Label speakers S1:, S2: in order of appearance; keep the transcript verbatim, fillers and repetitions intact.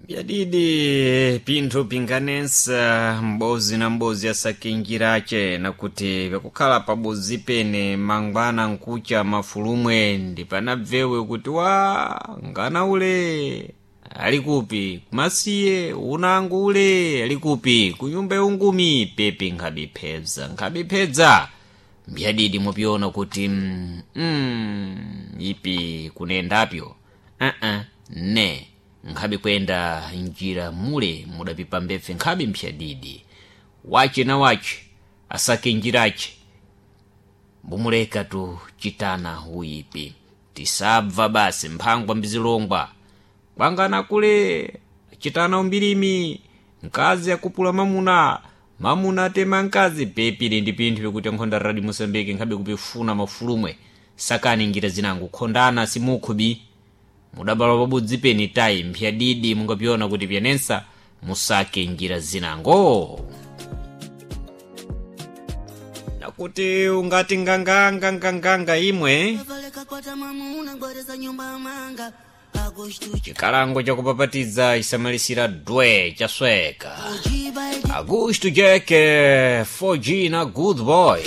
S1: Byadidi pinthu pinganensa m'bozi na m'bozi asakinjirace nakuti vyakukhala pabozi pene mangwana nkucha mafulumwe ndi panabvewe kuti wa ngana ule ali kupi kumasiye unango ule ali kupi kunyumba yaungumi pepi nkhabiphedza nkhabiphedza mbyadidi mupyona kuti mm, mm, ipi kunendapyo uh-uh, ne nkhabe kuyenda njira mule mudapipa mbepfe nkhabe mphyadidi wace na wace asake njirace mbumuleka tu chitana uyipi tisabva basi mphangwa mbizilongwa kwangana kule chitana umbilimi mkazi akupula mamuna mamuna atema mkazi pepili ndi pinthu pikuti nkhonda radi mosambike nkhabe kupifuna mafulumwe sakani njira zinango khondana simukhubi mudabalwa pabodzi peni tayi mphyadidi mungapyona kuti pyanensa musake njira zinango nakuti ungati nganganga nganganga imwe chikalango chakupapatiza chisamalisira dwe chasweka Augusto Jack four G na Good Boy.